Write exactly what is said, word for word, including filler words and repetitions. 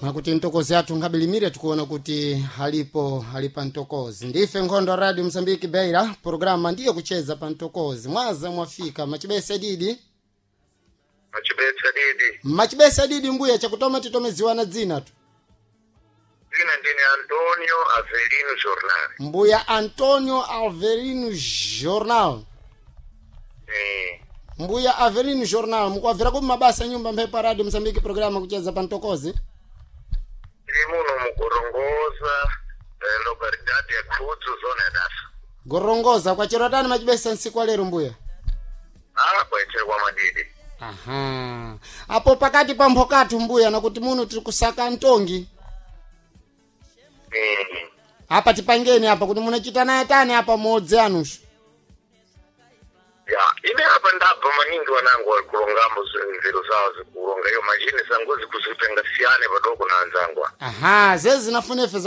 Mwakuti mtokozi athu nkabilimire, tikuona kuti halipo halipa mtokozi. Ndife Nkhondo Radio Msambiki Beira, programa ndiyo Kucheza pa Mtokozi. Mwaza mwafika machibesa didi? Machibesa didi. Machibesa didi mbuya, chakutoma titomeziwana dzina tu. Dzina ndine Antonio Avelino Jornal. Mbuya Antonio Alverino Jornal. Eh. Mbuya Avelino Jornal, mukuabvira ku mabasa nyumba mphepo ya Radio Msambiki, programa Kucheza pa Mtokozi. Tiri muno mukurongoza, eh, localidade ya Khudzu, zona ya Dasa. Gorongoza kwachero tani machibesa nsiku wa lero, mbuya? Ah, kwaitere kwa madidi. Aha, apo pakati pa mphokathu mbuya, nakuti muno tiri kusaka mtongi. Eh. Apa tipangeni apa kuti munachita naye tani apa modzi anushu. Ya, ine apa ndabva maningi, wanangu wali kulongambo nzeru zawo zikulonga iyo majini sangozi kuzitenga siyane padoko na anzangu. Aha, zezi zinafunefe.